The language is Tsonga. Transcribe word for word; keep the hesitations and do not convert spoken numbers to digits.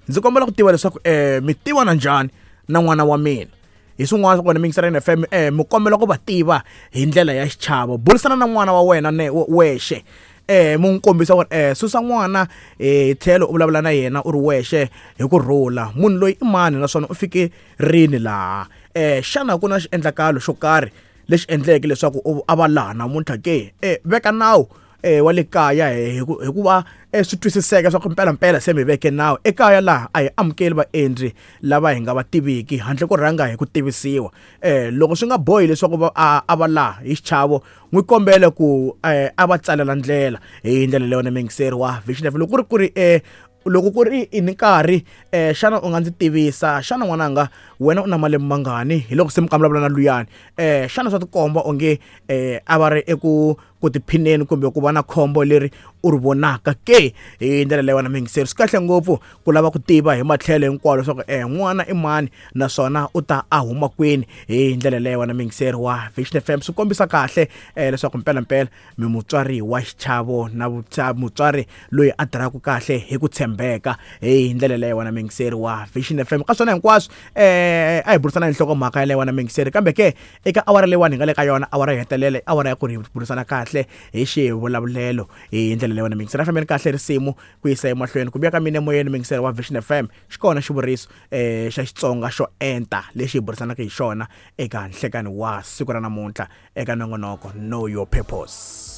Ndzi kombela ku tiva leswaku um mi tivana njhani na n'wana wa mina. Hi swin'wana swa kona mi yingisela F M um mi kombela ku va tiva hi ndlela ya xichavo. Burisana na n'wana wa wena ne wexe, eh mu n'wi kombisa ku ri eh susa n'wana hi tlhelo u vulavula na yena u ri wexe hi ku rhula. Munhu loyi i mani naswona u fike rini laha? Eh xana ku na xiendlakalo xo karhi lexi endleke leswaku a va laha namuntlha ke? Eh veka nawu eh wa le kaya hikuva swi twisiseka swa ku mpelampela se mi veke nawu ekaya laha a hi amukeli vaendzi lava hi nga va tiviki handle ko rhanga hi ku tivisiwa. Eh loko swi nga bohi leswaku va a va laha hi xichavo, n'wi kombele ku a va tsalela ndlela hi ndlela leyo na muyingiseri wa Vision F M. Loko ku ri ku ri eh loko ku ri i ni nkarhi eh xana u nga ndzi tivisa, xana n'wananga wena u na malembe mangani? Hi loko se mi vulavula na luyani, eh xana swa tikomba onge eh a va ri eku ku tiphineni kumbe ku va na khombo leri u ri vonaka ke? Hi ndlela leyo na muyingiseri, swi kahle ngopfu ku lava ku tiva hi matlhelo hinkwawo leswaku eh n'wana i mani naswona u ta a huma kwini. Hi ndlela leyo na muyingiseri wa Vision F M, swi kombisa kahle eh leswaku mpelampela mi mutswari wa xichavo na mutswari loyi a tirhaka kahle hi ku tshembeka. Hi ndlela leyo na muyingiseri wa Vision F M, ka swona hinkwaswo eh a hi burisana hi nhlokomhaka yaleyo na muyingiseri, kambe ke eka awara leyiwani hi nga le ka yona, awara yo hetelela, awara ya ku ri burisana kahle hi xivulavulelo. Hi ndlela leyo na muyingiseri, a fambeni kahle risimu ku yisa emahlweni ku vuya ka mina emoyeni. Muyingiseri wa Vision F M, xi kona xivuriso eh xa Xitsonga xo enta lexi hi burisanaka hi xona eka nhlekani wa siku ra namuntlha eka nongonoko Know Your Purpose.